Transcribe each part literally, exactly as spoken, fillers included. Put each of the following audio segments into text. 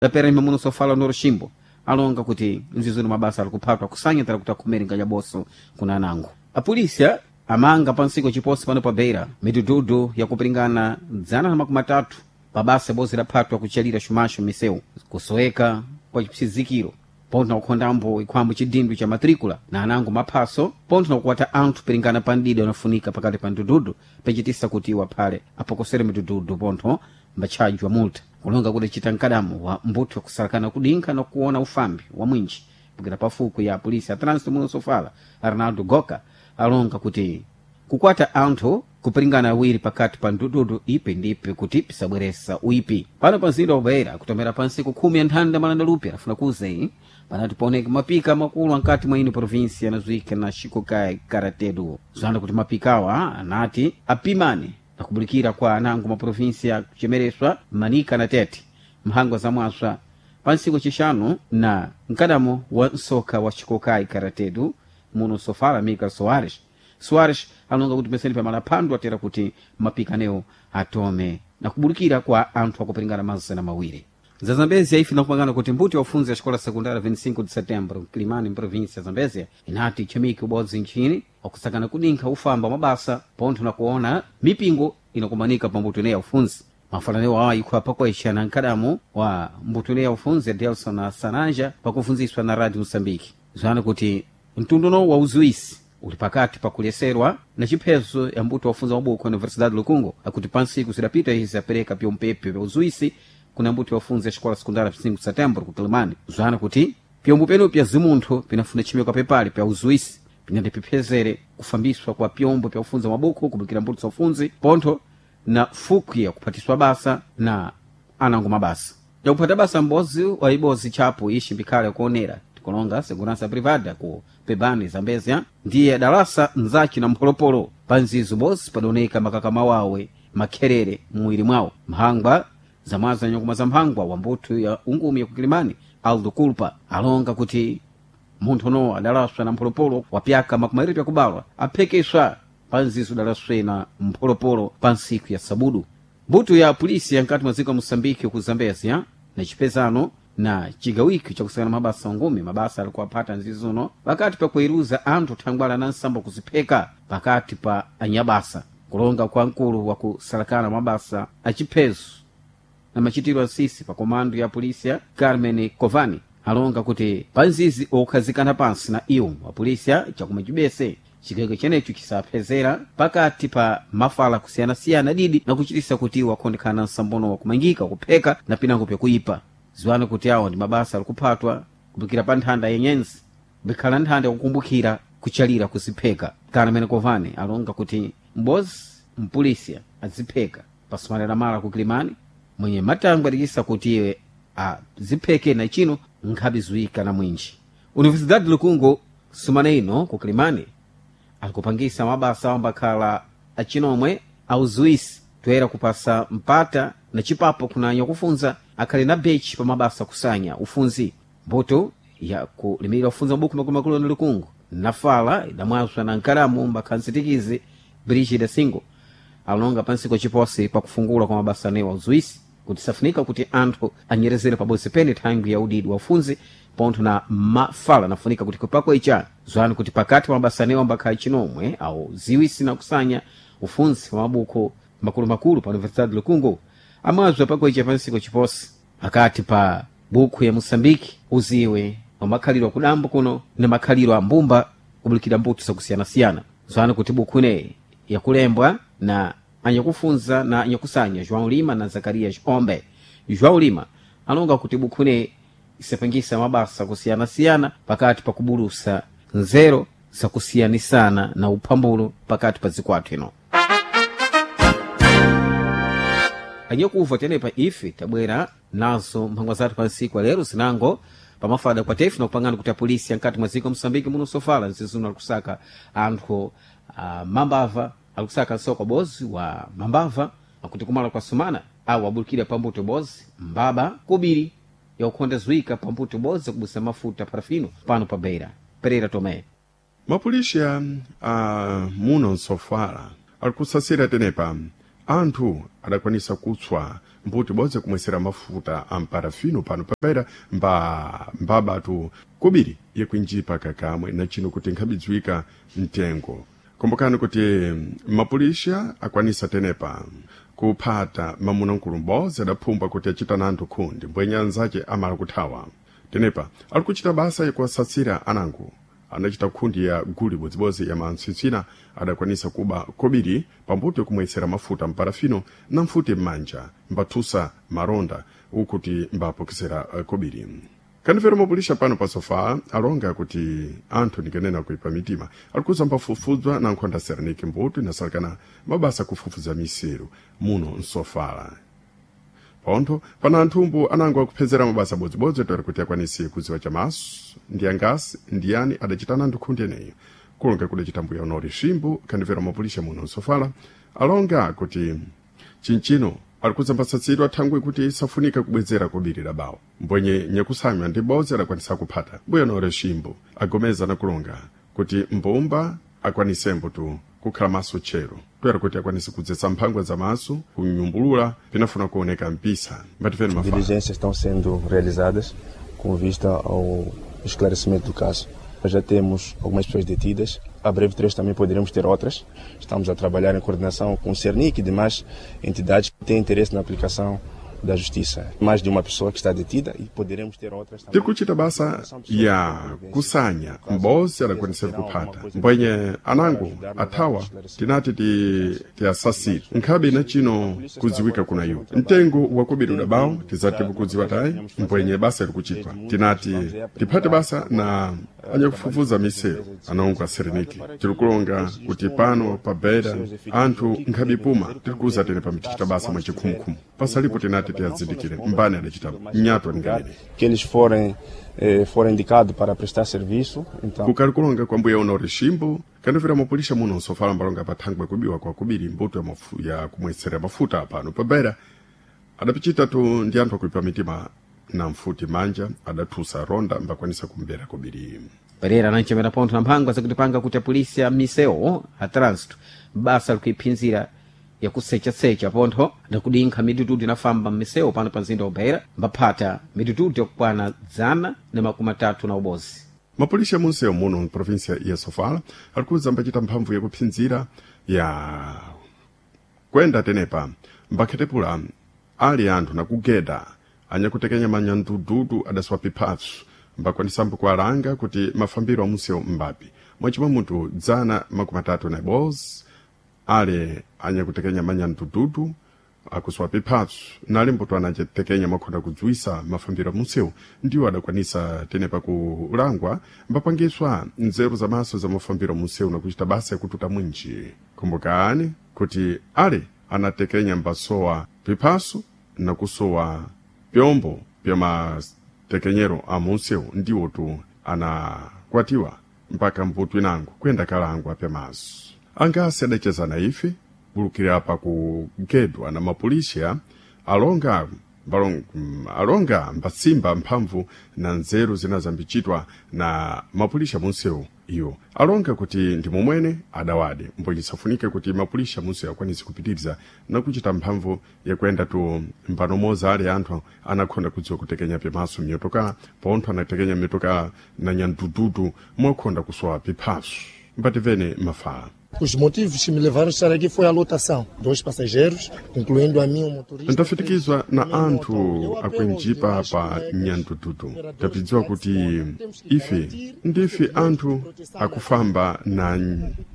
P R M muno sofala Noroshimbo alonga kuti nzizono mabasa ali kuphatwa kusanyitira kuti akhomere nganyaboso kuna anango. Apolisia amanga pansiko chiposi pano pa Beira midududu yakupiringana dzana na makumi atatu pabasa bozi laphatwa kuchalira xumaxo misewu kusoweka kwa chipsizikiro pontho na kukhondambo ikhwambo chidindwi cha matricula na anango maphaso pontho na kukwata anthu piringana pa mdidi anafunika pakati pa mdududu pechitisa kuti iwo aphale apokosere midududu pontho mbatchajwa multa kulonga kuti chita mkadamo wa mbuthu kusalakana kudinkha na kuona ufambi wa mwinji pukira pafuku ya polisi ya trânsito muno sofala Arnaldo Goka alonga kuti kukwata anthu kupiringana awiri pakati pa ndududu ipi ndi ipi kuti pisabweresa uipi pano pa mzinda wa Beira kutomera pansiku khumi ya nthanda malanda lupi afuna kuzeyi panati paoneka mapika makulu ankati mwa ino provinsi anazuika na Shikokai Karatedu zwana kuti mapikawa anati apimane nakubulikira kwa anango ma provinsi ya kuchemereswa Manika na Tete mphangwa za mwaswa pansiku chixanu na mkadamo wa nsoka wa Shikokai Karatedu muno sofala Mika Soares Soares alonga kuti peseni pamalaphando atera kuti mapikanewo atome na kubulikira kwa anthu akupiringana mazana mawiri. Za Zambezia ife nakupangana kuti mbuti wafunzi ya xikola sekundara vinte e cinco de Setembro Mkilimani mprovinsia ya Zambezia inati chimiki ubodzi nchini wakusakana kudinkha ufamba mabasa pontho na kuona mipingo inakumanika pa mbuto ineyi ya ufunzi. Mafananiwo awa ikhwa pakwaixa na mkadamu wa mbuto ineyi ya ufunzi Delson Sananja pakufunziswa na Radio Moçambique zwana kuti mtunduno wa uzuisi uli pakati pakuleserwa na chiphezo ya mbuto wafunza mabuku a Universidade Lukungo akuti pansiku zidapita izi apereka pyompepe pya uzuisi kuna mbuto wafunza xikola sekundara cinco de Setembro ku Kilimani zwana kuti pyombo penu pya zimunthu pinafuna chimeko pepali pya uzuisi pinati piphezere kufambiswa kwa pyombo pya ufunza mabuku kubukira mbuto za ufunzi pontho na fuku ya kuphatiswa basa na anango mabasa yakuphata basa mbozi wa ibozi chapo ixi mbikhale kuonera tikulonga segurança privada ku Pebani Zambezia ndiye dalasa mzaci na mpholopolo pa nzizo bozi padaoneka makakama wawe makherere muwiri mwawo mphangwa zamwaza nyakuma za mphangwa wa mbuthu ya ungumi ya kukilimani Aldo Culpa alonga kuti munthu uno adalaswa na mpholopolo wa pyaka makumi awiri pyakubalwa aphekeswa pa nzizo dalaswe na mpholopolo pa ntsiku ya sabudu. Mbuto ya polisi yankati mwa dziko la Moçambique ku Zambezia na chipezano na chigawiko chakusakana mabasa ngumi mabasa alikuwaphata nzizuno pakati pa kuiruza anthu thangwala na nsambo kuzipheka pakati pa anyabasa kulonga kwa mkulu wa kusalakana mabasa achiphezo na machitiro asisi pa komando ya polisia Carmen Covani alonga kuti panzizi okhazikana pansi na iwo wa polisia chakumwe chibese chigawiko chenecho chisaphezera pakati pa mafala kusiyanasiyana didi na kuchitisa kuti iwo akhondekhana nsambono wakumangika kupheka na pinango pyakuipa. Ziwani kuti awo ndi mabasa alikuphatwa kupikira pa nthanda yenyenzi bikhala nthanda yakukumbukira kuchalira kuzipheka. Carmen Covani alonga kuti mbozi mpulisia azipheka pasumanira mala ku Kilimani mwenye matangwe adikisa kuti iwe azipheke na chino nkhabe zuika na mwinji. Universidade Lukungo sumana ino ku Kilimani alikupangisa mabasa ambakhala achinomwe auzuisi toyera kupasa mpata na chipapo kunanya kufunza akhali na bechi pa mabasa kusanya ufunzi mbuto ya kulimirira ufunza mabuku makulumakulu na Lukungu nafala idamwaswa na nkalamu mbakhanzitikizi Brigida Singo alonga pansiko chiposi pakufungula kwa mabasa anewa uzuisi kuti safunika kuti anthu anyerezere pabodzi pene thangwi ya udidi wa ufunzi pontho na mafala nafunika kuti kupako icha zwani kuti pakati pa mabasa anewa mbakhala chinomwe au ziwisi na kusanya ufunzi wa mabuku makulumakulu pa Universidade Lukungu amazwa pako icha pansiko chiposi pakati pa buku ya Moçambique uziwe wa makhaliro akudambo kuno na makhaliro a mbumba kubulikira mbuto zakusiyanasiyana zwani kuti buku ineyi yakulembwa na anyakufunza na anyakusanya João Lima na Zacarias Ombe. João Lima alonga kuti buku ineyi isapangisa mabasa kusiyanasiyana pakati pa kubulusa nzero zakusiyanisana na uphambulo pakati pa zikwathu ino. Anyakuva tenepa ife tabwera nazo mphangwa zathu pa nsiku lero zinango pamafada kwa tefu nakupangana kuti apolisi ankati mwa dziko Moçambique muno sofala nzizuno alikusaka anthu uh, mambava alikusaka nsoko bozi wa mambava akuti kumala kwa sumana awo abulikira pambuto bozi mbaba kubiri yakukhonda zuika pambuto bozi kubusa mafuta parafino pano pa Beira. Pereira Tomé. Mapulisha a muno nsofala alikusasira tenepa anthu adakwanisa kutswa mbuti bodzi kumwesera mafuta a mparafino pano pabeira mba mbabatu kubiri yakuinjipa kakamwe na chino kuti nkhabidziwika mtengo. Kumbukani kuti mapulisha akwanisa tenepa kuphata mamuna nkulu m'bodzi adaphumbwa kuti achita na anthu khundi mbwenya anzace amala kuthawa. Tenepa ali kuchita basa yakuwasatsira anango anachita khundi ya guli bodzibodzi ya mantswitswina adakwanisa kuba kobiri pambuto yokumwetsera mafuta mparafino na mfuti m'manja mbathusa maronda ukuti mbapokesera kobiri. Kanifero mapulisha pano pa sofala alonga kuti anthu ndikanena kuipa mitima alikuza mbafufudzwa na nkhonda sereniki mbuto inasalekana mabasa kufufuza miseru muno msofala. Pontho pana anthumbu anango akuphezera mabasa bodzibodzi toera kuti akwanise kudziwa chamaso ndi angasi ndiyani adachitana anthu khundi eneyo. Kulonga kudachita mbuya unori Shimbu kandimvera mapulisha muno msofala alonga kuti chinchino alikuza mbasatsidwa thangwi kuti isafunika kubwezera kubirira bawo mbwenye nyakusanywa ndi bodzi adakwanisa kuphata. Mbuya unori Shimbu agomeza na kulonga kuti mbumba akwanisembo tu kukhala maso tchero toera kuti akwanise kudzetsa mphangwa za maso kunyumbulula pinafuna kuoneka mpisa. Mbatifeni mafala. Diligências estão sendo realizadas com vista ao esclarecimento do caso. Nós já temos algumas pessoas detidas, a breve trecho também poderemos ter outras. Estamos a trabalhar em coordenação com o Cernic e demais entidades que têm interesse na aplicação da justiça. Mais de uma pessoa que está detida e poderemos ter outras também. Tikuchita basa ya kusanya m'bodzi adakwanisa kuphata mbwenye anango athawa tinati ti tiasasire nkhabe na chino kudziwika kuna iwo mtengo wakubiri udabawo tizati kudziwa tayi mbwenye basa likuchitwa tinati tiphate basa na anyakufufuza miseru anaongo asereniki. Tirikulonga kuti pano pa Beira anthu nkhabipuma tirikuza tene pamitichita basa mwachikhumukhumu pasalipo tinati tiyazindikire mbani adachita nyatwa ninganene Que eles forem, eh, forem indicados para prestar serviço, então kukalikulonga kwa mbuya unori Shimbu kandifera mapulisha muno nsofala mbalonga pathangwe kubiwa kwa kubiri mbuto ya, mafu, ya kumwetsera mafuta pano pa Beira adapichita tu ndi anthu akuipa mitima na mfuti manja adathusa ronda mbakwanisa kumbera kubiri. Pereira ananchemera pontho na mphangwa zakutipanga kuti apolisi a misewu a trânsito basa likuiphinzira yakusechasecha pontho ndakudinkha mitututu inafamba m'misewu pano pa mzinda wa Beira mbaphata mitututu yakukwana dzana na makumi atatu na ubozi. Mapulisha munsewu muno mprovinsia ya Sofala alikuza mbachita mphamvu yakuphinzira ya kwenda tenepa mbakhetepula ali anthu nakugeda anyakutekenya manyandududu adaswa piphaso mbakwanisambo kualanga kuti mafambiro a munsewu mbapi mwachimwa munthu dzana makumi atatu na ibodzi ale anyakutekenya manyandududu akuswa piphaso nali mbuto anacetekenya mwakhonda kudziwisa mafambiro a munsewu ndiwo adakwanisa tenepa kulangwa mbapangiswa nzeru za maso za mafambiro a munsewu nakuchita basa yakututa mwinji. Kumbukani kuti ale anatekenya mbasowa piphaso nakusowa pyombo pya matekenyero a munsewu ndiwo tu anakwatiwa mpaka mputu inango kuyenda kalangwa pyamaso. Angasi adachezana ife bulukira pa kugedwa na mapulisha alonga balong, alonga mbatsimba mphamvu na nzeru zina zambichitwa na mapulisha munsewu iwo alonga kuti ndi momwene adawade mbwenye safunike kuti mapulisha munsewu akwanise kupitiriza na kuchita mphamvu yakuyenda tu mbanomoza ali anthu anakhonda kudziwa kutekenya pyamaso mnyotokala pontho anatekenya mnyotokala na nyandududu mwakhonda kusowa piphaso. Mbativene mafala. Os motivos que me levaram a estar aqui foi a lotação. Dois passageiros, incluindo a mim, um motorista. Ndafitikizwa na anthu akuinjipa pa nyandududu tapidziwa kuti ife ndife anthu akufamba na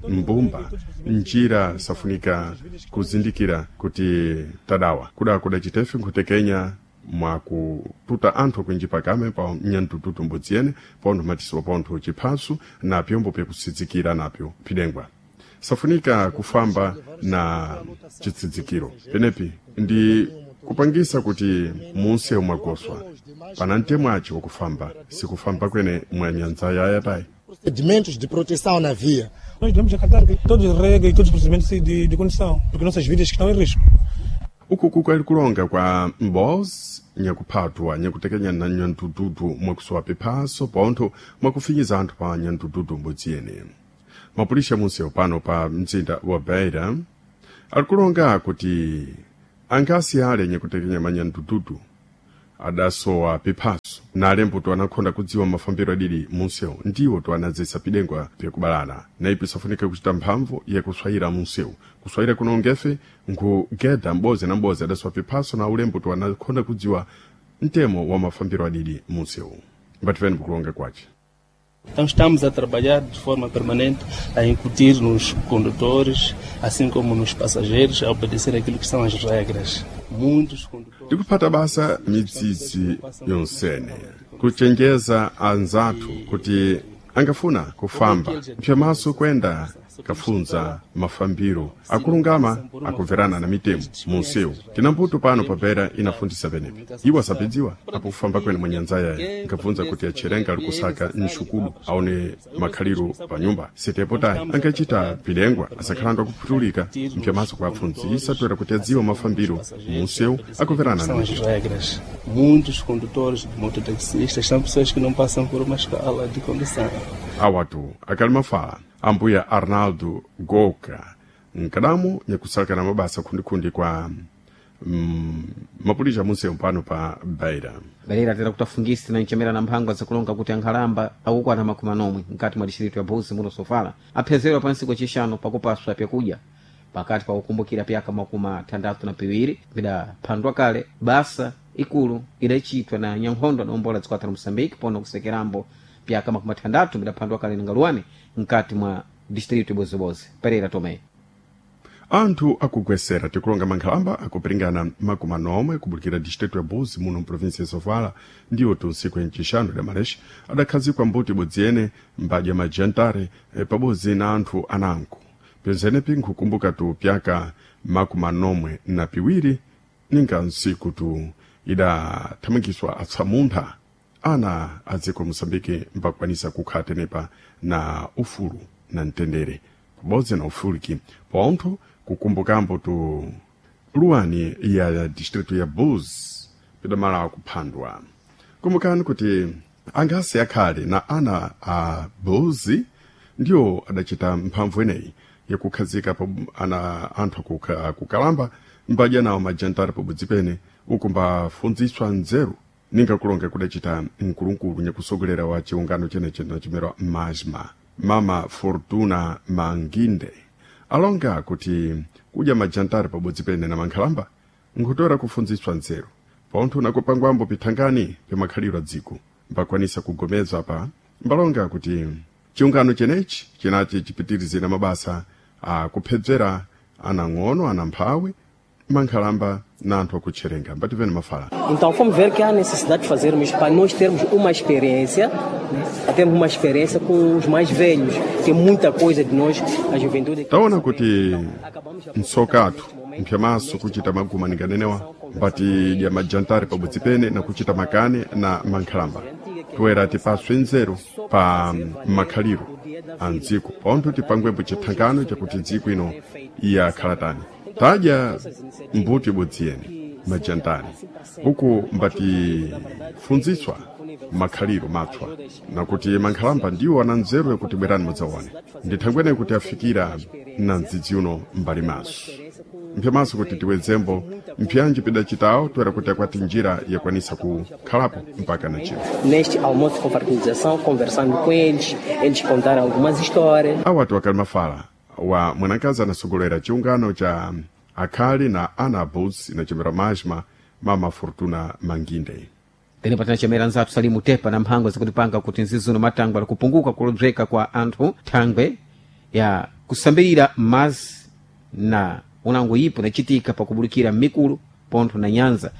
mbumba njira safunika kuzindikira kuti tadawa kuda kudachitefe nkhutekenya mwakututa anthu akuinjipa kame pa nyandududu mbudzi yene pontho matisiwa pontho chiphaso na pyombo pyakusidzikira napyo phidengwa safunika kufamba na chitsidzikiro penepi ndi kupangisa kuti munsewu mwagoswa pana mtemwa aci wakufamba sikufamba kwene mwa nyanza yayatayi Procedimentos de proteção na via. Nós devemos acatar todas as regras e todos os procedimentos de, de condução, porque nossas vidas estão em risco. Uku kukali kulonga kwa mbozi nyakuphathwa nyakutekenya na nyandududu mwakusowa piphaso pontho mwakufinyiza anthu pa nyandududu mbudzi yene. Mapulisha munsewu pano pa mzinda wa Beira alikulonga kuti Angasi ale nyekutekenya manyandududu adasowa piphaso na alembo anakhonda kudziwa mafambiro adidi munsewu ndiwo toanadzesa pidengwa pyakubalana na ipi safunika kuchita mphamvu yakuswayira munsewu kuswayira kuno ngefe nkugeda m'bodzi na m'bodzi adasowa piphaso na ulembo toanakhonda kudziwa mtemo wa mafambiro adidi munsewu mbatifeni kukulonga kwace. Então estamos a trabalhar de forma permanente a incutir nos condutores, assim como nos passageiros, a obedecer aquilo que são as regras. Muitos condutores... Ndikuphata basa midzidzi yonsene kuchenjeza anzathu kuti angafuna kufamba mphyamaso kwenda kafunza mafambiro akulungama akumverana na mitemo munsewu. Tina mbuto pano papera inafundisa penepi iwo asapidziwa apo kufamba kwene mwanyanza yaye nkabvunza kuti acherenga ali kusaka mxukulu aone makhaliro pa nyumba sitepo tayi angachita pilengwa asakhalando akuphutulika mphyamaso kuapfundzisa toera kuti adziwa mafambiro munsewu akumverana na São as mitemo. regras. Muitos condutores, mototaxistas, são pessoas que não passam por uma escola de condução. Awatu akali mafala ambuya Arnaldo Goka nkadamu nyakusalaka na mabasa khundikhundi kwa mm, mapulisha munsewu pano pa Beira. Beira tera kutafungisi na ncemera na mphangwa zakulonga kuti ankhalamba akukwana makumi anomwe mkati mwa distrito ya Buzi muno Sofala aphezerwa pa ntsiku yacixanu pakupaswa pyakudya pakati pa kukumbukira pyaka makumi athandatu na piwiri bidaphandwa kale basa ikulu idacitwa na nyankhondo adaombola dziko la Moçambique pono kusekerambo pyaka makumi athandatu bidaphandwa kale na ngaluwani mkati mwa distrito ya Bozibozi. Pereira Tomé. Anthu akugwesera tikulonga mankhalamba akupiringana makumi anomwe kubulikira distrito ya Buzi muno mprovinsi ya Sofala ndiwo tunsiku yancixanu da Malexi adakhazikwa mbuti ibodzi yene mbadya majantare eh, pabodzi na anthu anango pyenzenepi nkhukumbuka tu pyaka makumi anomwe na piwiri ninga nsiku tu idathamangiswa atsamuntha ana a dziko Moçambique mbakwanisa kukhala tenepa na ufulu na mtendere pabodzi na ufuliki pontho kukumbukambo tu luwani ya distrito ya Buzi pidamala kuphandwa. Kumbukani kuti angasi akhale na ana a Buzi ndiwo adachita mphamvu ineyi yakukhazika pa ana anthu akukha- akukalamba mbadya nawo majantari pabodzi pene uku mbafunziswa nzeru ninga kulonga kudachita mkulunkulu nyakusogolera wa chiungano chenechi nachimera Majma Mama Fortuna Manginde alonga kuti kudya majantari pabodzi pene na mankhalamba nkutora kufunziswa nzeru pontho nakupangwambo pithangani pyamakhaliro a dziko mbakwanisa kugomezwa pa mbalonga kuti chiungano chenechi chinachi chipitirizira mabasa akuphedzera anang'ono anamphawi mankhalamba na anthu akutcherenga mbativeni mafala. Então fomos ver que há necessidade de fazermos para nós termos uma experiência, né? Para termos uma experiência com os mais velhos, tem muita coisa de nós, a juventude. Taona kuti msokathu mphyamaso kuchita maguma ninganenewa mbati ya majantari pabodzi pene na kuchita makane na mankhalamba toera tipaswe nzeru pa makhaliro a mdziko pontho tipangwembo chithangano chakuti dziko ino iyakhala tani tadya mbuto ibodzi yene majantari uku mbatifunziswa makhaliro matswa nakuti mankhalamba ndiwo ana nzeru yakuti bwerani mudzaone ndithangwene kuti afikira na mdzidzi uno mbali maso mphyamaso kuti tiwedzembo mpyanji pidacitawo toera kuti akwati njira yakwanisa kukhalapo mpaka na chino. Neste almoço de confraternização, conversando com eles, eles contaram algumas histórias. Awatu akali mafala wa mwanakazi anasogolera chiungano cha akhali na ana Buzi nachimera Majma Mama Fortuna Manginde. Tenepa tinacemera nzathu Salimu Tepa na mphango zakutipanga kuti nzizuno matangwe ali kupunguka kulodzeka kwa anthu thangwe ya kusambirira mazi na unango ipo inacitika pakubulikira mikulu pontho na nyanza.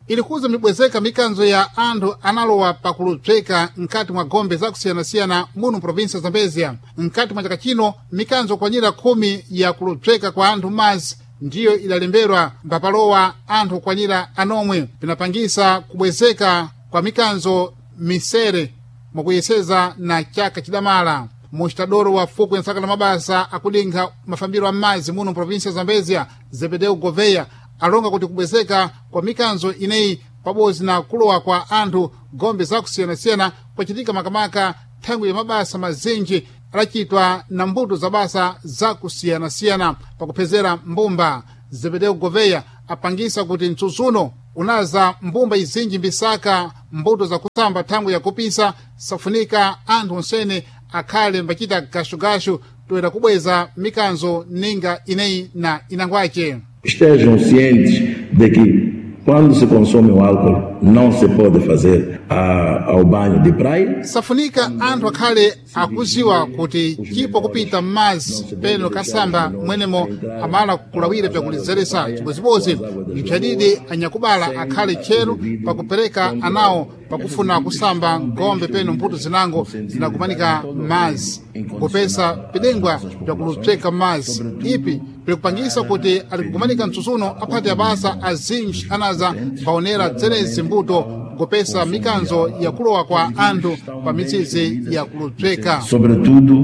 Ilikuza mibwezeka mikanzo ya anthu analowa pakulubzeka mkati mwa gombe zakusiyanasiyana muno provinsi ya Zambezia. Mkati mwa chaka chino mikanzo kwanyira khumi ya kulubzeka kwa anthu mazi ndiyo idalembedwa mbapalowa anthu kwanyira anomwe, pinapangisa kubwezeka kwa mikanzo misere mwakuyeseza na chaka chidamala. Mustadoro wa fuku ya nsaka la mabasa akudinkha mafambiro a m'madzi muno mprovinsi ya Zambezia, Zebedeu Goveia, alonga kuti kubwezeka kwa mikanzo ineyi pabodzi na kulowa kwa anthu gombe zakusiyanasiyana kwachitika makamaka thangwi ya mabasa mazinji adachitwa na mbuto za basa zakusiyanasiyana pakuphezera mbumba. Zebedeu Goveia Apangisa kuti mtsutsuno unaza mbumba izinji mbisaka mbuto zakusamba thangwi yakupisa, safunika anthu onsene akhale mbachita gashugashu toera kubweza mikanzo ninga ineyi na inangwace. Estejam cientes de que quando se consome o álcool não se pode fazer a, ao banho de praia. Safunika anthu akhale akuziwa kuti chipo kupita m'mazi peno kasamba mwenemo amala kulawira byakulizeresa. Chibozibodzi mpyadidi anyakubala akhale tcheru pakupereka anawo pakufuna kusamba ngombe peno mbuto zinango zinakumanika m'mazi kupesa pidengwa byakulupseka m'mazi ipi bikupangisa kuti alikukumanika mtsutsuno aphati abasa azinji anaza mbaonera dzenezi mbuto kupesa mikanzo yakulowa kwa anthu pa mitsitsi yakulupseka. Sobretudo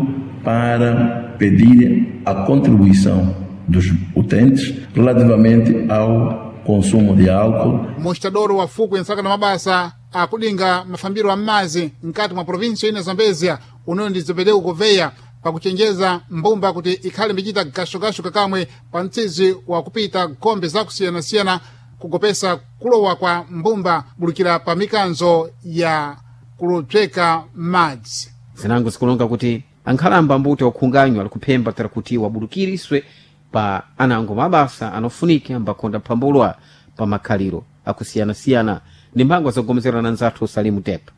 para pedir a contribuição dos utentes relativamente ao consumo de álcool. Mostadoro wa fuku yansaka na mabasa akudinga mafambiro a m'mazi mkati mwa provinsi ina Zambezia unoyo ndi Zebedeu Goveya pakuchenjeza mbumba kuti ikhale mbichita gashugashu kakamwe pa mtsizi wa kupita gombe zakusiyanasiyana kugopesa kulowa kwa mbumba bulukira pa mikanzo ya kulupseka madzi. Zinango zikulonga kuti ankhalamba mbuto wakhunganywa alikuphemba tera kuti wabulukiriswe pa anango mabasa anofunika ambakhonda phambulwa pa makhaliro akusiyanasiyana. Ndi mphangwa zogomezerana nzathu Salimu Tepa.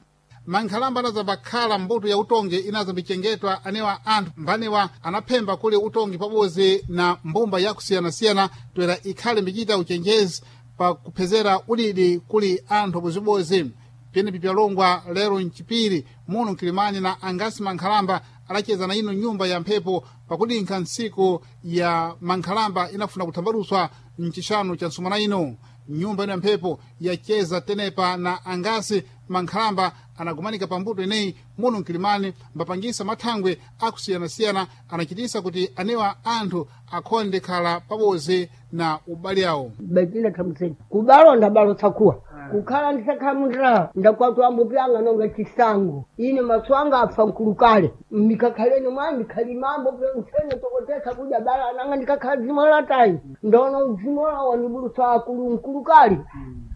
Mankhalamba anazambakhala mbuto ya utongi inazambichengetwa anewa anthu mbanewa anaphemba kuli utongi pabodzi na mbumba yakusiyanasiyana toera ikhale mbichita uchenjezi pakuphezera udidi kuli anthu abozibodzi. Pyenepi pyalongwa lero mchipiri muno mkilimani na angasi mankhalamba adacheza na ino nyumba ya mphepo pakudinkha ntsiku ya mankhalamba inafuna kuthambaluswa mchixanu cha nsumana ino. Nyumba ino ya mphepo yacheza tenepa na angasi mankhalamba anagumanika pambuto ineyi muno mkilimani mbapangisa mathangwe akusiyanasiyana anachitisa kuti anewa anthu akhonde khala pabodzi na ubale awo. Betina thamuseni kubalo ndabalo tsakuwa kukhala ndisakhamundira ndakwatu ambupyanga nonga chisango ine maso anga apfa mkulukale ndikakhaleni mwa ndikhalimambo msene tokotesa kudya bala nanga ndikakhala dzimo latayi ndaona udzimo lawo ndibulusa akulu mkulukale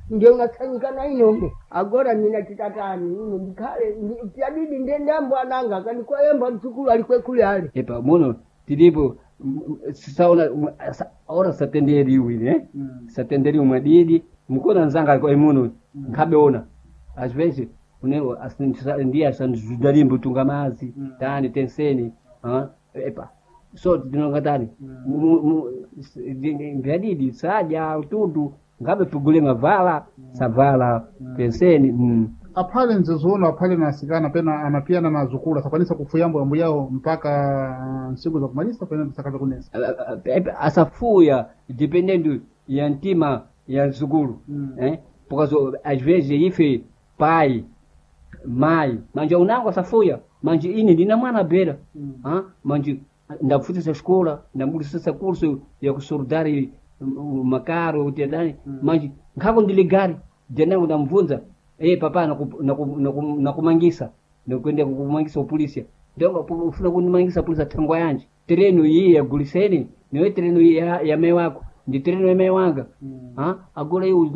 ndiye unatsanyika na ine ume agora nina chitatani ine ndikhale pyadidi ndiye ndambo ananga akanikwayemba mtsukulu alikwekule ale epa muno tilipo saona ora satenderiwi ne satenderiwi mwadidi mukona nzanga kwa imuno nkhabeona às vezes une ndiye asandizudalimbo tunga mazi tani tenseni ah epa so tinonga tani mbyadidi sadya utundu ngabe pugule mavala savala penseni mm. Aphale mzezuno aphale na asikana pena anapiyana na azukulu asakwanisa kufuya ambu yawo mpaka nsiku za kumalisa pena tisakaza kunesa asafuya dependendo ya ntima ya mzukulu mm. eh? Por causa, às vezes ife pai mai manje unango asafuya manje ine ndina mwana bera mm. ah? Manje ndapfutisa escola ndambudisisa curso ya kusurdari makaro utendani mm. Manje nkhako ndiligari denango ndamvunza eh papa nakumangisa nakwenda kukumangisa upolisia ndonga ufuna kunimangisa polisi thangwa yanje tereno iyi yaguliseni niwe tereno iyi ya, ya mai wako ndi tereno ya mai wanga mm. Ha agora iwe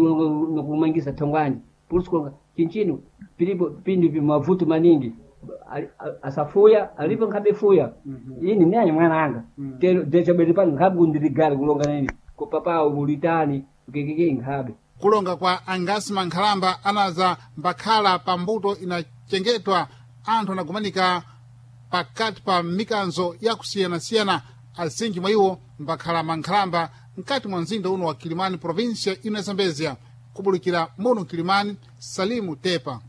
nakumangisa thangwa yanje polisi konga chinchino pilipo pindi mavuto maningi asafuya alipo nkhabe fuya mm -hmm. Ini naye mwana anga mm. Tero dechabere pano nkhabe kundiligari kulonga nini ko papa ulitani kekeke nkhabe kulonga kwa angasi mankhalamba anaza mbakhala pa mbuto inachengetwa anthu anagumanika pakati pa mikanzo yakusiyanasiyana azinji mwa iwo mbakhala mankhalamba mkati mwa mzinda uno wa Kilimani província ino ya Zambezia kubulikira muno Kilimani. Salimu Tepa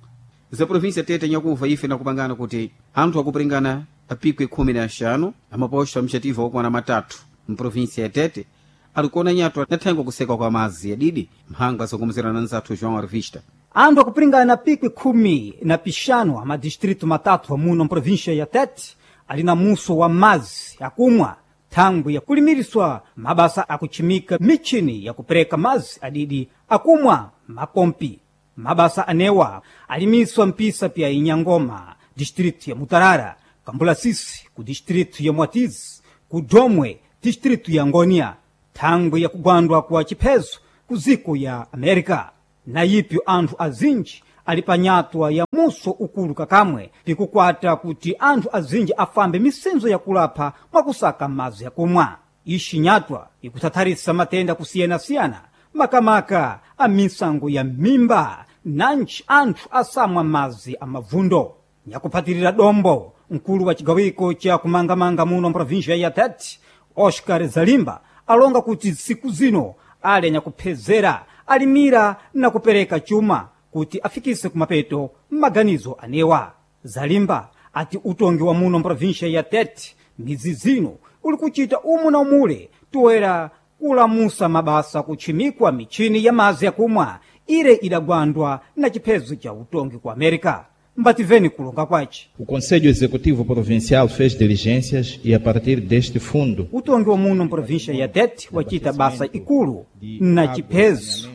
Za província Tete nyakuva ife nakupangana kuti anthu akupiringana apikwe khumi na axanu amaposto amxativa okwana matatu mprovíncia ya Tete alikuona nyatwa nathengo kuseka kwa mazi yadidi mphanga zokomezerana nzathu João Arvista. Anthu akupiringana pikwi khumi na pixanu a madistrito matatu amuno mprovíncia ya Tete ali na muso wa mazi akumwa thangwi yakulimiriswa mabasa akuchimika michini yakupereka mazi adidi akumwa mapompi. Mabasa anewa alimiswa mpisa pya Inyangoma distrito ya Mutarara, Kambulasisi ku distrito ya Mwatizi, ku Domwe distrito ya Ngonia. Thangwi yakugwandwa kwa chiphezo ku ziko ya Amerika. Na ipyo anthu azinji ali panyatwa ya muso ukulu kakamwe pikukwata kuti anthu azinji afambe misenzo yakulapha mwakusaka madzi yakumwa. Ixi nyatwa ikuthatharisa matenda kusiyanasiyana makamaka a misango ya mimba nanji anthu asamwa madzi amavundo. Nyakuphatirira dombo mkulu wa cigawiko cha kumangamanga muno mprovinsia ya Tete, Oscar Zalimba, alonga kuti siku zino ali anyakuphezera alimira na kupereka chuma kuti afikise kumapeto maganizo anewa. Zalimba ati utongi wa muno mprovinsia ya Tete midzi zino uli kuchita umu na umule toera kulamusa mabasa kutchimikwa michini ya madzi yakumwa ire idagwandwa na chiphezo cha utongi ku Amerika. Mbativeni kulonga kwace. O Conselho Executivo Provincial fez diligências e, a partir deste fundo, utongi wa muno mprovinsia ya Tete wachita basa ikulu na chiphezo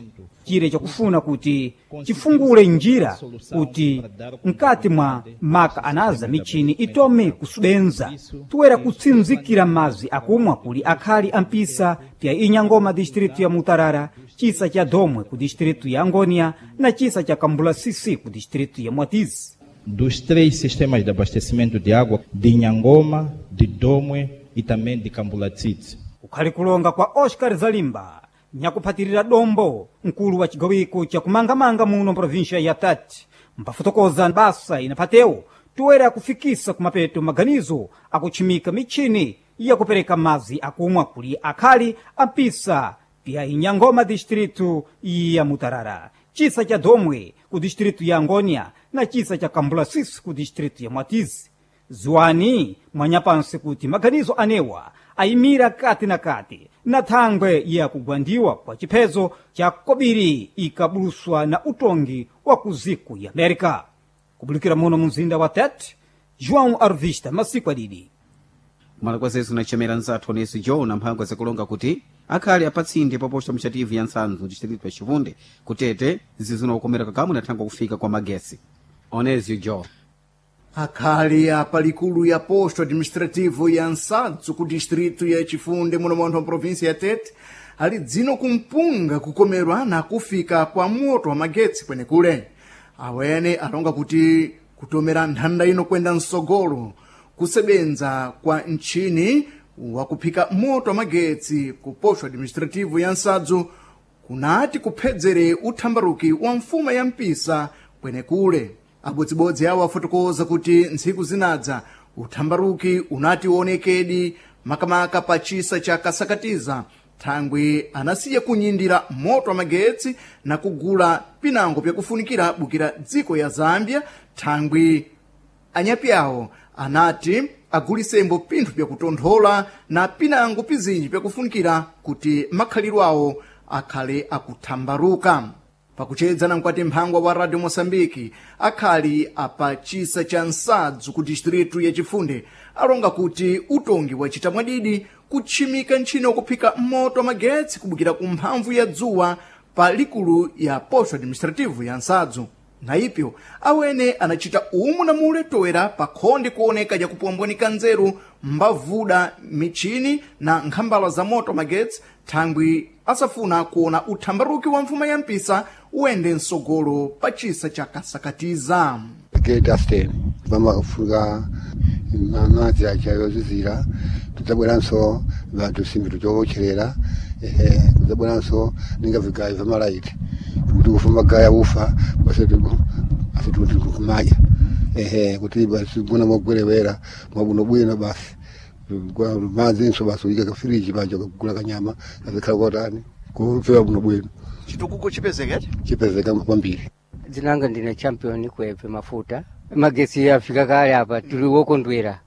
chire chakufuna kuti chifungule njira kuti mkati mwa maka anaza michini itome kusubenza toera kutsinzikira madzi akumwa kuli akhali ampisa pya Inyangoma distritu ya Mutarara, chisa cha Domwe ku distritu ya Angônia na chisa cha Kambulasisi ku distritu ya Mwatizi. Dos três sistemas de abastecimento de água, de Inhangoma, de Domwe e também de Cambulatsitsi. Kukhali kulonga kwa Oscar Zalimba, nyakuphatirira dombo mkulu wa cigawiko cha kumangamanga muno mprovinsia ya Tete, mpafotokoza basa inaphatewo toera kufikisa kumapeto maganizo akutchimika michini yakupereka madzi akumwa kuli akhali ampisa pya Inyangoma distritu ya Mutarara, chisa cha Domwe ku distritu ya Angônia na chisa cha Kambulasisi ku distritu ya Mwatizi. Ziwani mwanyapansi kuti maganizo anewa ayimira kati na kati na thangwe ya kugwandiwa kwa chiphezo cha kobiri ikabuluswa na utongi wa kuziku ya Amerika. Kubulikira muno mumzinda wa Tete, João Arvista, masiku adidi. Kumala kwa zesu nachemera nzathu onesi Joe na mphangwa zakulonga kuti akhali apatsinde paposta mchativu ya Nsanzu distritu ya Chifunde kutete zizuna kukomera kakamwe na thangwa kufika kwa magesi. Onezio Joe. Akhali apa likulu ya posto administrativo ya Nsadzu ku distrito ya Chifunde muno mwanthu wa província ya Tete ali dzino kumpunga kukomerwa na kufika kwa moto wa magetsi kwenekule. Awene alonga kuti kutomera nthanda ino kwenda msogolo kusebenza kwa ntchini wakuphika moto wa magetsi ku posto administrativo ya Nsadzu kunati kuphedzere uthambaruki wa mfuma ya mpisa kwenekule. Abodzibodzi awo afotokoza kuti ntsiku zinadza uthambaruki unati uonekedi makamaka pa chisa cha Kasakatiza thangwi anasiya kunyindira moto wa magetsi na kugula pinango pyakufunikira bukira dziko ya Zambia thangwi anyapi awo anati agulisembo pinthu pyakutonthola na pinango pizinji pyakufunikira kuti makhalidwe awo akhale akuthambaruka. Pakuchedza na mkwati mphangwa wa Radio Moçambique akhali apa chisa cha Nsadzu ku distritu ya Chifunde alonga kuti utongi wachita mwadidi kutchimika ntchino wakuphika moto wa magetsi kubukira ku mphamvu ya dzuwa pa likulu ya posto administrativo ya Nsadzu. Na ipyo awene anachita umu na mule toera pa khonde kuoneka jakupombwanika nzeru mbavuda michini na nkhambala za moto magetsi thangwi asafuna kuona uthambaruki wa mfuma ya mpisa uende msogolo pa chisa cha Kasakatiza. Dustin vamafuka madzi achayozizira tudzabweranso vanthu simbi tuchowotcherera ehe tudzabweranso ninga vigayo vamalaiti kuti ufa magaya ufa basi asi tikumadya ehe kuti basi gona mwagwerewera mwabwinobwino basi madzinso basi uyika kafiriji paja kugula kanyama kazikhala kotani kupfewa bwinobwino Chitukuko chipezekete chipezeka kwambiri. Dzinanga ndine Champion Kwebve Mafuta. Magetsi afika kale apa tili wokondwera.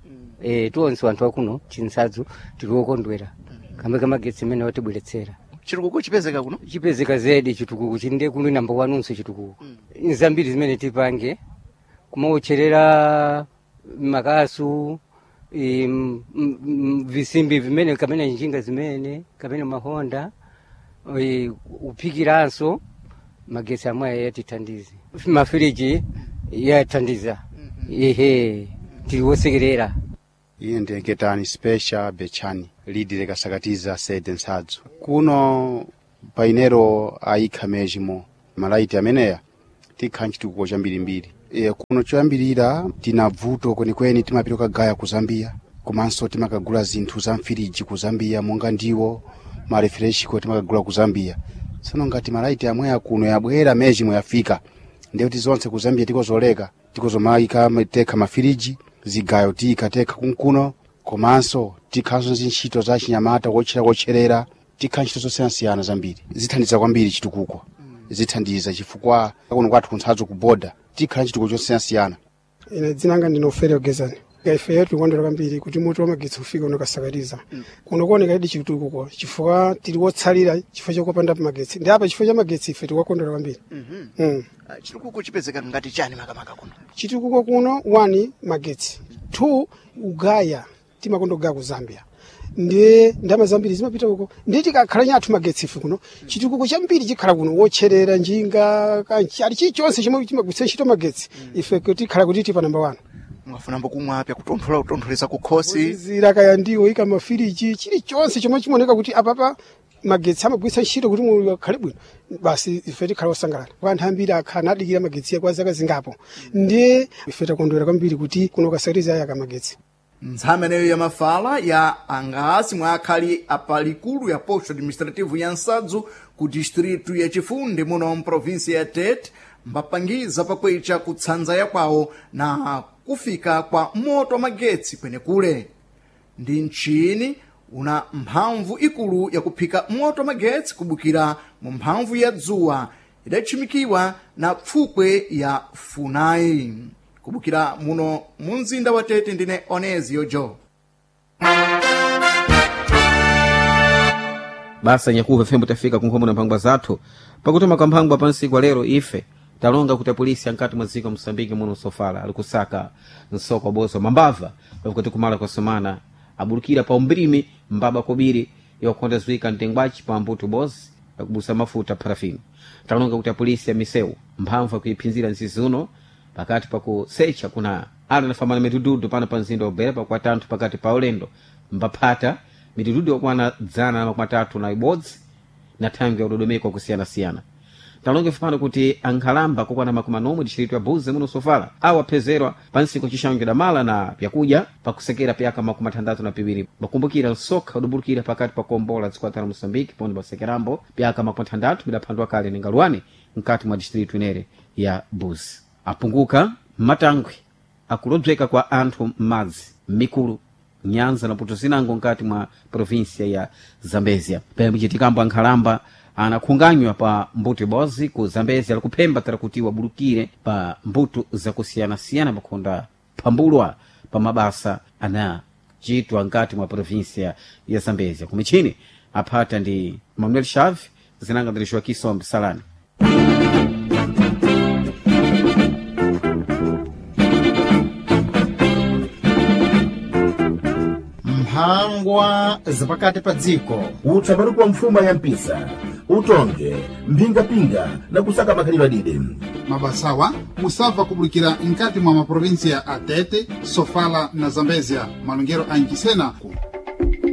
Eh tionse anthu akuno Chinsadzu tili wokondwera. Kambe kamagetsi amene watibweretsera. Chitukuko chipezeka kuno? Chipezeka zedi chitukuko chinde kuno namba wanunso chitukuko. Nzambiri zimene tipange kumawotcherera makasu e, m- m- visimbi vimene kamene njinga zimene kamene mahonda e, uphikiranso magetsi amwe yatithandize mafiriji yathandiza ehe tiliwosekerera. Iye ndiye Ketani Special Bechani lidire Kasakatiza sede Nsadzu kuno. Painero ayikha mezimo malaiti ameneya tikha nchitukuko chambirimbiri. E, kuno choyambirira tina bvuto kwenikweni, timapita kagaya ku Zambia, komanso timakagula zinthu za mfiriji ku Zambia monga ndiwo marefreshiko timakagula ku Zambia. Tsono ngati malaiti amweya kuno yabwera mezimo yafika, ndiye kuti zonse ku Zambia tikozoleka, tikozomayika tekha mafiriji, zigayo tiyika tekha kunkuno, komanso tikhanso zintchito za chinyamata kotchera kotcherera, tikha ntchito zosiyanasiyana zambiri zithandiza kwambiri chitukuko, zithandiza chifukwa kuno kwathu kunthadzo ku boda tikhala nchitukuko chosiyanasiyana. Ine dzina langa ndine Ofelio Gezani. Ifeyo tikukondwera kwambiri kuti moto wa magetsi ufika uno kasakatiza kuno kuoneka idi chitukuko, chifukwa tili wotsalira chifukwa chokopanda magetsi, ndi apa chifukwa cha magetsi ife tikukondwera kwambiri. Mm. Chitukuko chipezeka ngati chani makamaka kuno? Chitukuko kuno, one, magetsi, two, ugaya timakonda kugaya ku Zambia, ndiye ndama zambiri zimapita uko, ndiye tikakhala nyathu magetsi ife kuno chitukuko chambiri chikhala kuno, wotcherera njinga kanchi ali chilichonse chomwe chimagwiritsa ntchito magetsi ife tikhala kuti tipa namba one. Mwafunambo kumwa apya kutonthola kutontholeza kukhosi? Zira kaya ndiwo ika mafiriji, chilichonse chomwe chimaoneka kuti apapa magetsi amagwiritsa ntchito kuti moyo akhale bwino, basi ife tikhala osangalala. Anthu ambiri akhala nadikira magetsi kwa zaka zingapo, ndiye ife takondwera kwambiri kuti kuno kasakatiza ayaka magetsi. Ntsameneyo ya mafala ya angasi mwa akhali apalikulu ya posto administrativo ya Nsadzu ku distritu ya Chifunde muno mprovinsia ya Tete mbapangiza pakwecha kutsanza ya kwawo na kufika kwa moto wa magetsi kwenekule. Ndi mchini una mphamvu ikulu yakuphika moto wa magetsi kubukira mu mphamvu ya dzuwa idatchimikiwa na pfukwe ya Funai. Kubukira muno mu mzinda wa Tete, ndine Onezio Jo. Basa nyakuva fembo tafika kunkhomo na mphangwa zathu pakutoma kwa mphangwa pansi kwa lero. Ife talonga kuti apolisi ankati mwa dziko Mosambiki muno sofala ali kusaka nsoko bozo mambava pakuti kumala kwa somana abulukira pa umbrimi mbaba kobiri yakukonda zwika mtengwachi pa mbuto bozi yakubusa mafuta parafini. Talonga kuti apolisi ya misewu mphamvu akuiphinzira nzizi uno pakati pakusecha kuna ana nafamana mitududu pano pa mzinda wa Beira pakuatanthu pakati pa ulendo mbaphata mitududu yakwana dzana na makumi atatu na ibodzi na thangwi ya udodomeko kusiyana-siyana. Talonge pano kuti ankhalamba kokwana makumi anomwe distritu ya Buze muno sofala awaphezerwa pansi kucixango damala na pyakudya pakusekera pyaka makumi athandatu na piwiri. Bakumbukira nsokha udubulukira pakati pa kuombola dziko la Moçambique pondi basekerambo pyaka makumi athandatu bidaphandwa kale ni ngaluwani mkati mwa distritu inere ya Buze. Apunguka matangwi akulodzeka kwa anthu m'madzi m'mikulu nyanza na puto zinango nkati mwa provinsia ya Zambezia. Pembe ankhalamba anakhunganywa pa mbuto ibodzi ku Zambezia likuphemba tara kuti wabulukire pa mbuto zakusiyanasiyana pakhonda phambulwa pa mabasa anachitwa nkati mwa provinsia ya Zambezia. Kumichini aphata ndi Manuel Chave, zinanga ndi Joaquim Sombe Salani. Mphangwa zapakati pa dziko. Utsaparupa mfuma ya mpisa utonge mphingapinga na kusaka makhalidwe adide. Mabasawa musabva kubulikira nkati mwa maprovinsia a Tete, Sofala na Zambezia. Malongero a Nchisena ku